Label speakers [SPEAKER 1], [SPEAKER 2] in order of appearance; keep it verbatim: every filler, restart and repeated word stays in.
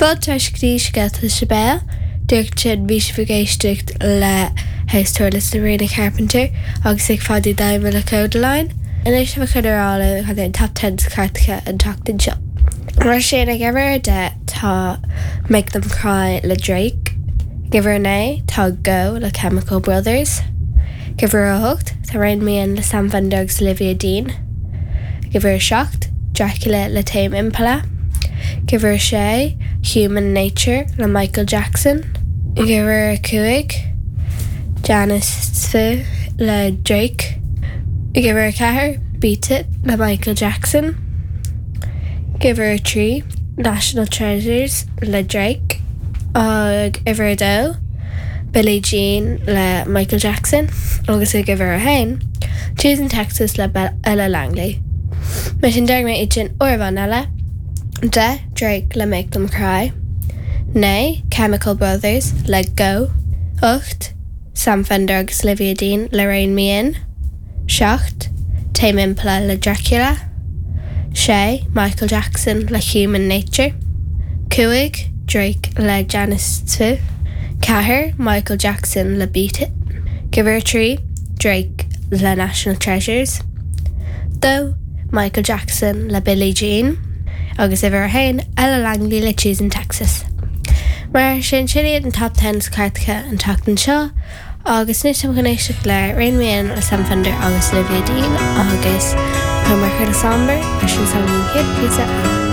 [SPEAKER 1] Fáilte go dtí Scéalta sa Béal, Dúirt sin bhí sibh ag éisteacht le House Tour le Sabrina Carpenter agus ag fadú daime le Kodaline. Anois tá chun rá chun an top ten cairteacha an tseachtain seo. Mar sin ag uimhir a deich tá Make Them Cry le Drake. Ag uimhir a naoi tá Go le Chemical Brothers. Ag uimhir a hocht tá Rein Me In le Sam Fender agus Olivia Dean. Ag uimhir a seacht Dracula le Tame Impala. Ag uimhir a sé Human Nature le Michael Jackson. Ag uimhir a cúig Janice le Drake. Ag uimhir a ceathair Beat It le Michael Jackson. Ag uimhir a trí National Treasures le Drake. Ag uimhir a dó Billie Jean le Michael Jackson agus ag uimhir a haon Choosing Texas le Ella Langley. Mar sin déarfaidh mé iad sin uair amháin eile, deich Drake le Make Them Cry, naoi Chemical Brothers le Go, ocht Sam Fender agus Olivia Dean le Rein Me In, seacht Tame Impala le Dracula, sé Michael Jackson le Human Nature, cúig Drake le Janice Tfu, ceathair Michael Jackson le Beat It, uimhir a trí Drake le National Treasures, dó Michael Jackson le Billie Jean, agus uimhir a haon Ella Langley le Choosing Texas. Mar sin sin iad an top ten cairteacha an tseachtain seo, agus anois chun éisteacht le Rein Me In le Sam Fender agus Olivia Dean agus tá mar chuile sambar leis an san chéad píosa.